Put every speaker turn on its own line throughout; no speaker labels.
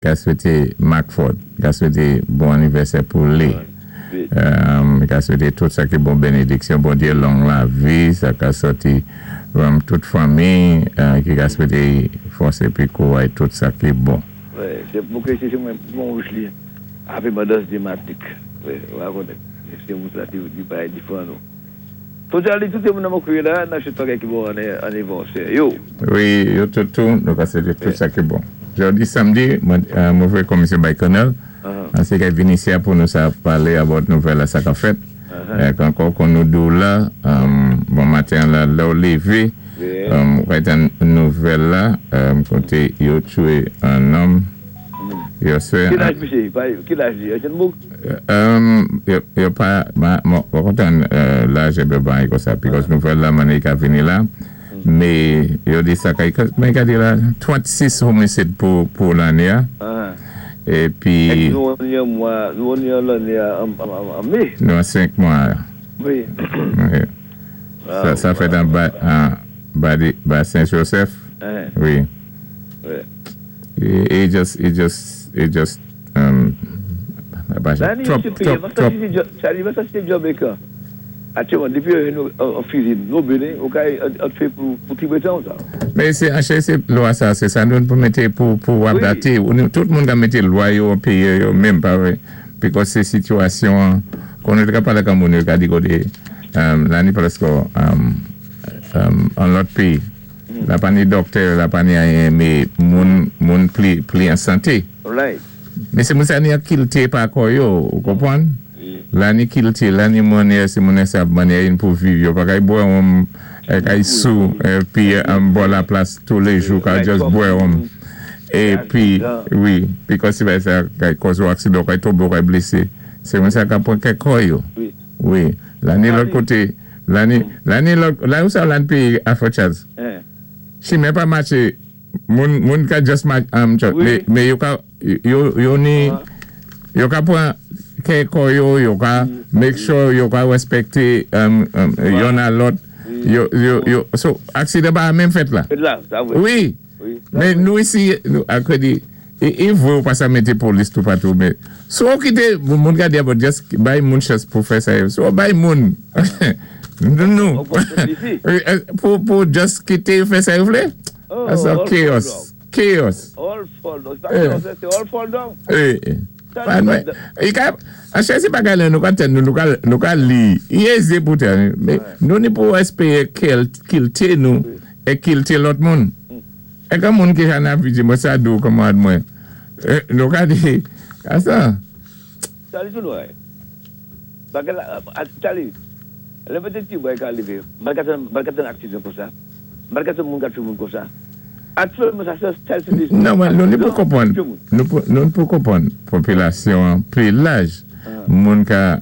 Ka swété Mark Ford, ka swété bon anivèsè pou li. Ka swété tout sa ki bon, bénédiksyon Bondyé, long lavi, sa ka sòti tout fanmi, ki ka swété fòs épi kouray, tout sa ki bon.
Se pou ke se mwen bon wish li Happy Mother's Day, Matik. Wè konnen se moun sa di bagay diferan nou. So Charlie, tout moun nan mwen kouye la, nan chou bagay ki bon anivèsè yo.
Wi, yo tout tou, nou ka swété tout sa ki bon. Jodi samdi, mwen voyé komisyon bay Colonel, ansi kay vini isi a pou nou sa palé about nouvèl la sa ka fèt. Ankò kon nou di la, bon maten la, lè ou lévé, ou ka tann nouvèl la, koté yo toué an nonm, yo
se Ki laj misye? Ki laj li? Etienne Bouk?
Yo pa, mwen kontan laj ebe ban yi kon sa, because nouvèl la mani ka vini la, mé yo di sa kay, mwen ka di la, 36 homisid pou lanné a, épi
Nou an yon mwa, nou an yon lanné an mé.
Nou an 5 mwa. Sa fèt an ba Saint-Joseph. Wi. It just,
trop, trop, trop. Charlie, mwen sa se Jamaica. Aktyèlman, depi yo an fizi, nou bene, ou ka an fè pou ti bretan ou sa.
Mé sé, anchè sé lwa sa, sé sa nou pou mété pou adapté. Tout moun ka mété lwa yo an péyi yo menm, pa wè? Because sé sitiyasyon, kon nou te ka palé kan moun yo ka di koté, la ni prèsk an lòt péyi. La pa ni doktè, la pa ni anyen, mé moun pli an santé. Mé sé moun sa ni an kilti pa kò yo, ou konpwann? La ni kilti, la ni mannyè, sé moun sa mannyè yin pou viv yo. Pa kay bwè wonm, kay sou, pi an bò la plas tou lé jou, ka just bwè wonm. Épi, wi, because si bay sa kay kòz ou aksidan, kay tonbé, kay blésé. Sé moun sa ka pwan kè kò yo. Wi, la ni lòt koté, la ni lòt, la ou sa la ni péyi Afro Charles. Chimen pa maché, moun ka just mé yo ka, yo ni, yo ka pwan kè kò yo, yo ka make sure yo ka respekté yon a lòt, yo, so, aksidan pa menm fèt la. Wi, mé nou isi, akwe di, e vwe ou pa sa mété polis tou patou, mé, so ou kité, moun ka di about just bay moun chans pou fè sa yo, so bay moun, nou, pou just kité fè sa yo vlé, that's a chaos, chaos.
All fall down. Se all fall down.
E, ka, a chè se bagay la nou ka ten nou, nou ka li, yeze pou ten, nou ni pou espeye kilte nou, e kilte lòt moun. E kan moun ki jan ap di, mwen sa dou kòman mwen. Nou ka di, a sa.
Charlie tou nou ay. Bagay la, Charlie, lè mwen te ti boy ka leve, mwen ka ten aksidan kon sa. Mwen ka ten moun ka tue moun kon sa. Aktyèlman sa se se se
Non, nou ni pou konpwann, nou ni pou konpwann popilasyon pli laj, moun ka,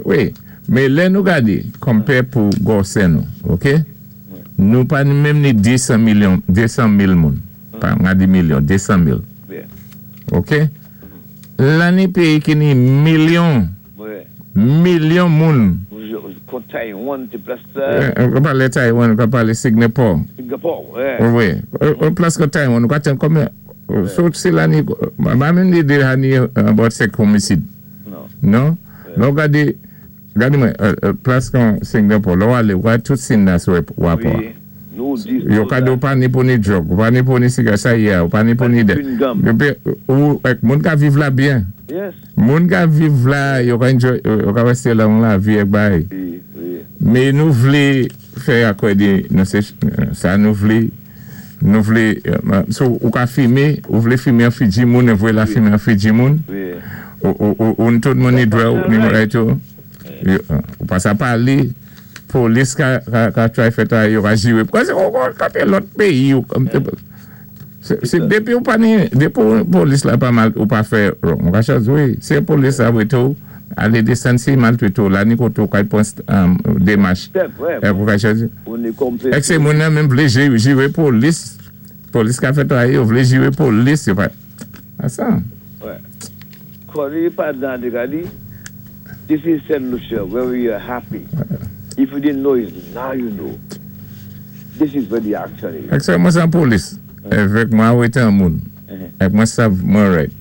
wi, mé lè nou gadé, compare pou gwosè nou, ok? Nou pa ni menm ni 200 milyon, 200 mil moun, pa nga di milyon, 200 mil, ok? La ni peyi ki ni milyon, milyon moun.
Kon Taiwan te plas sa.
Ou pale Taiwan, ou pale Singapore.
Singapore,
wi. Ou plas kon Taiwan, ou ka ten konbyen, so se la ni, ma menm ni de hani about sek homisid. Non? Non gade, gade mwen, plas kon Singapore, lò wale, wè tout sin na sou wapwa. Yo kado ou pa ni pou ni drug, ou pa ni pou ni siga sa ya, ou pa ni pou ni de. Ou, moun ka viv la byen. Moun ka viv la, yo ka enjoy, yo ka reste la moun la vi ek bay. Mé nou vlé fè akwe di, nou se, sa nou vle, so ou ka fimé, ou vlé fimé an figi moun, ou vle la fimé an figi moun, ou tout moun ni dwe ou, ni moun tou, ou pa sa pale, polis ka try fè ta yo ka jiwe, kwa se ou kate lòt peyi, se depi ou pa ni, depi ou polis la pa mal, ou pa fè, ou ka chaz, wi, se polis la wè tou, ale desan si maltwete ou, la ni kote ou kay pon demach, ou ka chaz, ek se moun nan menm vle jiwe polis, polis ka fè ta yo, vle jiwe polis, yo pa, a sa.
Koni pa dan de gadi, this is St. Lucia, where we are happy. If you didn't know it, now you know. This is where the action is.
Ek se mwen san polis, evek mwen wè tan moun. Like mwen sav mwen right.